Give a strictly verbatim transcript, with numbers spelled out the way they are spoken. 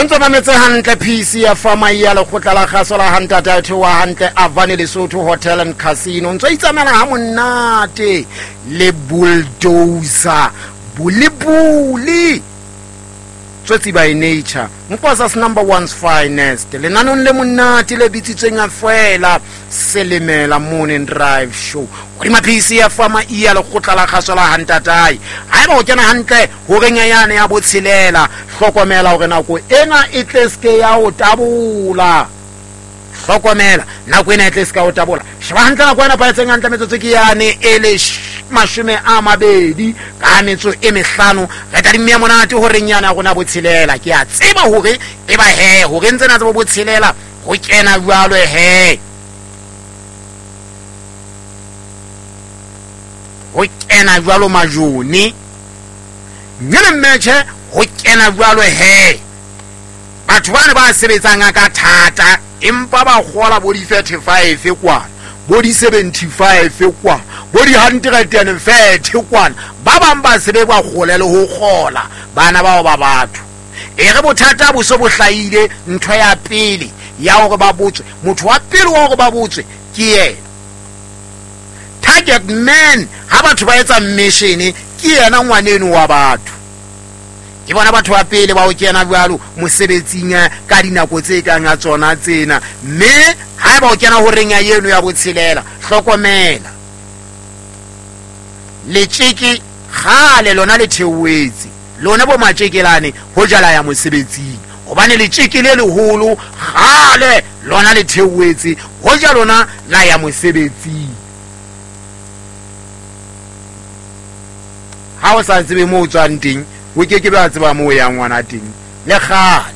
Ntso mametse hantle P C ya Fama ya lekgotla la kgaso la hantate a theoha hantle Avani Lesotho Hotel and Casino. Ntso itsamela ha monate le bulldozer bulibuli tsotsi by nature Nkosa's number one's finest lenanong le monate le bitsitsweng a fela Selemela Morning Drive Show hodima P C ya Fama ya lekgotla la kgaso la hantatai. Haeba o kena hantle horeng ya yane ya botshelela, hlokomela hore nako ena e tle ske ya o tabola. Hlokomela nako ena e tle ske ya o tabola. Sheba hantle nako ena paetseng hantle metsotso ke yane e le mashome a mabedi ka metso e mehlano. Re tadimme ya monate horeng yana ya rona botshelela. Ke a tseba hore e ba he hore ntse na tsebo botshelela ho kena jwalo he. Ho kena jwalo majone nyene mmetjhe ho kena jwalo he. Batho bana ba sebetsang ka thata empa ba kgola bo di thirty-five kwana, bo di seventy-five kwana, bo di hundred and thirty kwana. Ba bang ba sebe ba kgole le ho kgola bana bao ba batho. E re bothata bo so bo hlahile, ntho ya pele ya hore ba botswe, motho wa pele wa hore ba botswe ke yena. Target man ha batho ba etsa mission ke yena ngwaneno wa batho. Ke bona batho ba pele ba o kena jwalo mosebetsing ka dinako tse kang a tsona tsena. Mme haeba o kena horeng ya eno ya botshelela, hlokomela letjeke kgale lona le theoetse lona bo matjekelane ho jala ya mosebetsing, hobane letjeke le leholo kgale lona le theoetse ho ja lona la ya mosebetsing. Ha o sa tsebe moo o tswang teng, o ke ke ba tseba moo o yang ngwana teng le kgale.